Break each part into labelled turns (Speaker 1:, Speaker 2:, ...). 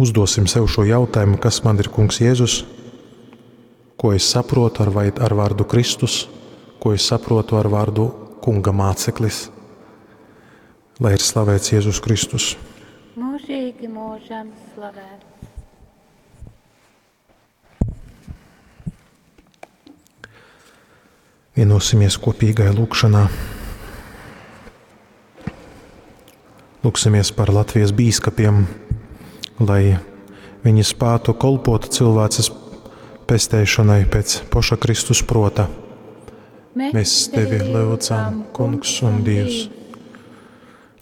Speaker 1: Uzdosim sev šo jautājumu, kas man ir Kungs Jēzus, ko es saprotu ar, vai, ar vārdu Kristus, ko es saprotu ar vārdu Kunga māceklis. Lai ir slavēts Jēzus Kristus.
Speaker 2: Mūžīgi mūžam slavēts.
Speaker 1: Vienosimies kopīgai lūgšanā. Lūksimies par Latvijas bīskapiem, lai viņi spētu kolpot cilvēces pesteišanai pēc poša Kristus prota. Mēs tevi lūdzam, Kungs un Dievs.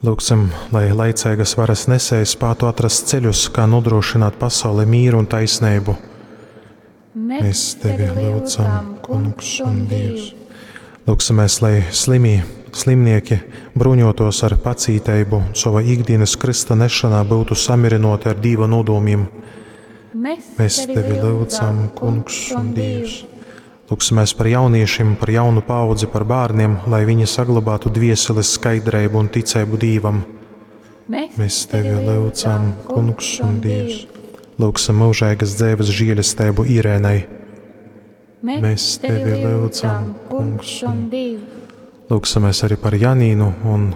Speaker 1: Lūgsim, lai laicīgas varas nesēji spētu atrast ceļus, kā nodrošināt pasaulē mīru un taisnību. Mēs tevi lūdzam, Kungs un Dievs. Lūksimies, lai slimī, slimnieki bruņotos ar pacīteibu un sava ikdienas krista nešanā būtu samirinoti ar Dieva nodomiem. Mēs tevi lūdzam, Kungs un Dievs. Lūksimies par jauniešiem, par jaunu paudzi, par bērniem, lai viņi saglabātu dvieseles skaidrību un ticību Dievam. Mēs tevi lūdzam, Kungs un Dievs. Lūgsim mūžīgas dzīves žēlastību Irēnai. Mēs tevi lūdzam, Kungs un
Speaker 2: Dievs.
Speaker 1: Lūksimies arī par Janīnu un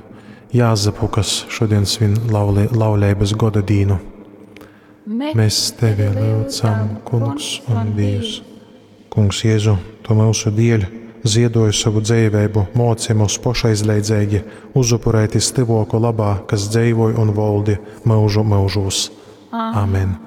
Speaker 1: Jāzepu, kas šodien svin lauli, laulības goda dīnu. Mēs tevi lūdzam, Kungs un Dievs. Kungs Jēzu, tu mūsu dēļ ziedoji savu dzīvību, moci mūs pošaizleidzīgi uzupurēties tuvāko labā, kas dzīvoja un valdi mūžu mūžos. Amen.